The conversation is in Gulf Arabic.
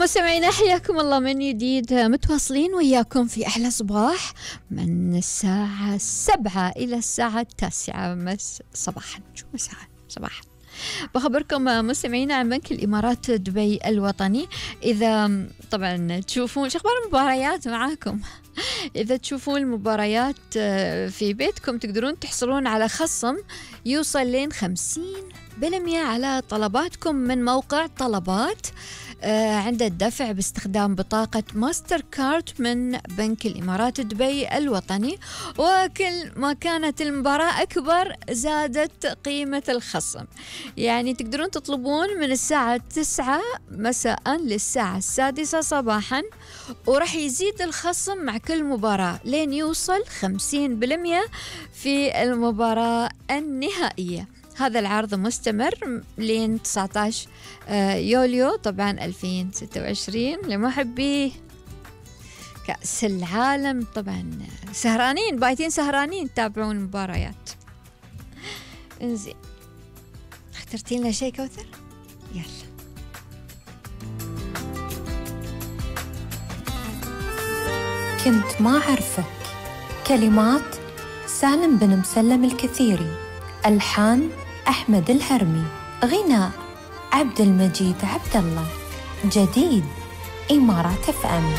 مستمعينا حياكم الله من جديد، متواصلين وياكم في أحلى صباح من الساعة 7 إلى الساعة 9 صباحا. شو مساء صباحا. بخبركم مستمعينا عن بنك الإمارات دبي الوطني. إذا طبعا تشوفون شخبار المباريات معاكم، إذا تشوفون المباريات في بيتكم تقدرون تحصلون على خصم يوصل لين 50% على طلباتكم من موقع طلبات عند الدفع باستخدام بطاقة ماستر كارد من بنك الإمارات دبي الوطني. وكل ما كانت المباراة أكبر زادت قيمة الخصم، يعني تقدرون تطلبون من الساعة 9 مساء للساعة 6 صباحا، ورح يزيد الخصم مع كل مباراة لين يوصل 50% في المباراة النهائية. هذا العرض مستمر لين 19 يوليو طبعا 2026 لمحبي كأس العالم. طبعا سهرانين بايتين سهرانين تتابعون المباريات. انزين، اخترتي لنا شيء كوثر؟ يلا. كنت ما أعرفك، كلمات سالم بن مسلم الكثيري، ألحان أحمد الهرمي، غناء عبد المجيد عبد الله، جديد إمارات FM.